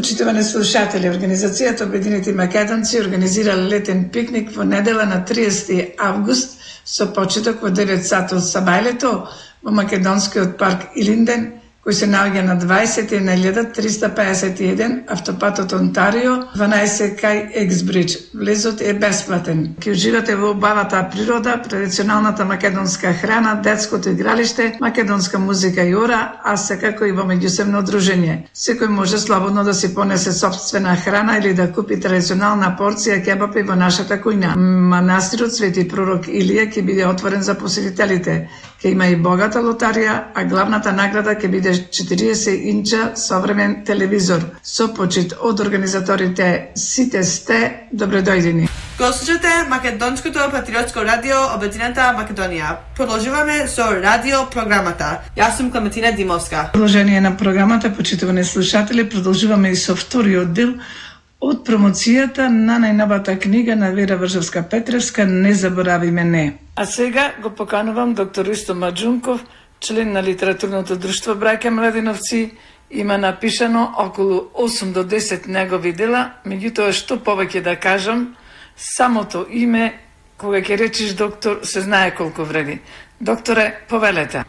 Почитувани слушатели, Организацијата Обединети македонци организира летен пикник во недела на 30 август со почеток во 9 сати од сабајлето во македонскиот парк Илинден, кој се наоѓа на 20.351 автопатот Онтарио, 12 кај Ексбридж. Влезот е бесплатен. Ќе уживате во убавата природа, традиционалната македонска храна, детското игралиште, македонска музика и ора, а секако и во меѓусебно дружење. Секој може слободно да си понесе сопствена храна или да купи традиционална порција кебапи во нашата кујна. Манастирот Свети пророк Илија ќе биде отворен за посетителите. Ќе има и богата лотарија, а главната награда ќе биде 40 инча современ телевизор. Со почит од организаторите сите сте добредојдени. Го слушате Македонското патриотско радио Обединета Македонија. Продолжуваме со радио програмата. Јас сум Клементина Димовска. Продолжение на програмата, почитувани слушатели, продолжуваме и со вториот дел од промоцијата на најновата книга на Вера Вржевска-Петревска "Не заборави мене". А сега го поканувам доктор Ристо Маџунков, член на литературното друштво Браќа Младиновци. Има напишано околу 8 до 10 негови дела, меѓутоа што повеќе да кажам, самото име, кога ќе речиш доктор, се знае колку вреди. Докторе, повелете.